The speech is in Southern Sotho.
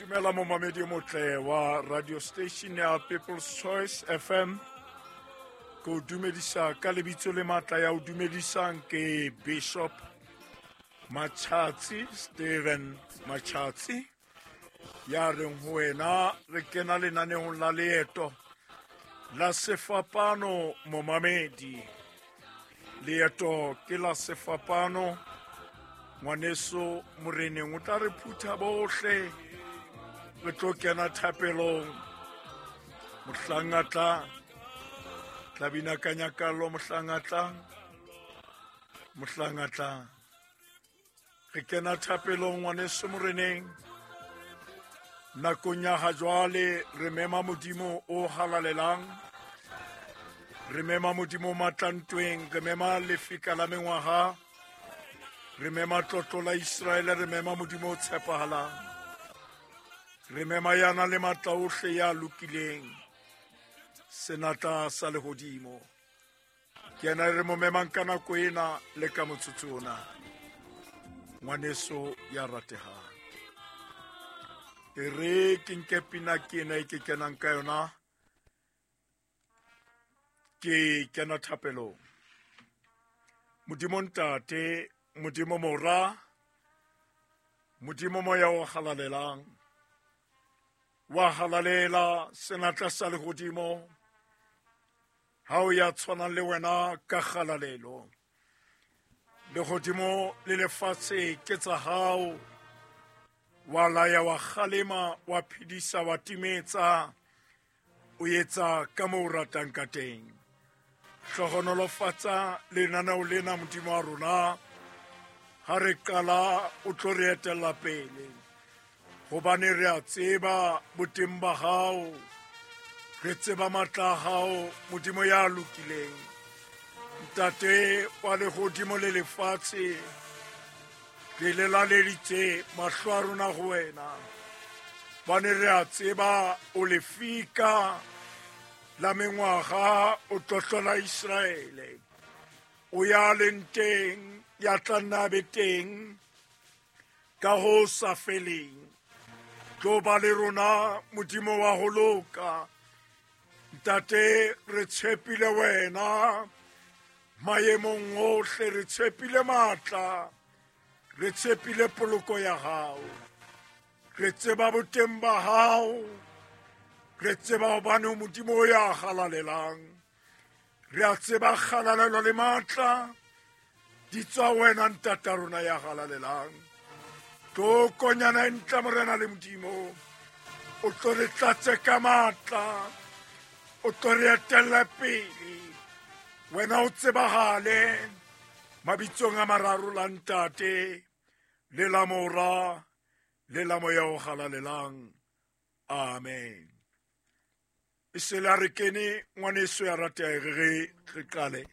Dumela momamedi o motle wa radio station ya People's Choice FM. Ke o dumedisa ka lebitso le matla ya o dumedisang ke Bishop Machatsi, Steven Machatsi, ya reng ho wena re kena lenaneong la leeto la sefapano. Momamedi, leeto ke la sefapano. Ngwaneso moreneng o tla re phutha bohle, re tlo kena thapelong. Mohlang a tla tla bina ka nyakallo, mohlang a tlang, mohlang a tlang, re kena thapelong. Ngwaneso moreneng, nakong ya ha jwale re mema Modimo o halalelang, re mema Modimo o matlantweng, re mema lefika la mengwaga, re mema tlotlo la Israele, re mema Modimo o tshepahalang, re mema yana le matla ohle, ya lokileng, senatla sa lehodimo. Ke yena re mo memang ka nako ena le ka motsotso ona. Ngwaneso ya ratehang, e re ke nke pina ke ena e ke kenang ka yona, ke kena thapelong. Modimo Ntate, Modimo Mora, Modimo Moya o halalelang, wa halalela senatla sa lehodimo, ha o ya tshwanang le wena ka kgalalelo. Lehodimo le lefatshe ke tsa hao, wa laya, wa kgalema, wa phedisa, wa timetsa, o etsa ka moo o ratang ka teng. Hlohonolofatsa lenaneo lena, Modimo wa rona, ha re qala o tlo re etella pele, hobane re a tseba boteng ba hao, re tseba matla a hao, Modimo ya lokileng, Ntate wa lehodimo le lefatshe. Re lelaleditse mahlo a rona ho wena, bane re a tseba o lefika la mengwaga, o tlotlola Israele, o ya leng teng, ya tla nna be teng ka ho sa feleng. Tlo ba le rona, Modimo wa ho loka. Ntate, re tshepile wena maemong ohle, re tshepile matla, re tshepile poloko ya hao, re tseba boteng ba hao, re tseba hobane o Modimo o ya halalelang. Re a tseba kgalalelo le matla di tswa wena, ntata rona ya halalelang. Tlo konyana e ntle, Morena le Modimo, o tlo re tlatse ka matla, o tlo re etelle pele, wena o tsebahale mabitsong a mararo, la Ntate le la Mora le la Moya o halalelang. Amen. E se la re kene, ngwaneso ya rateha, re re qale.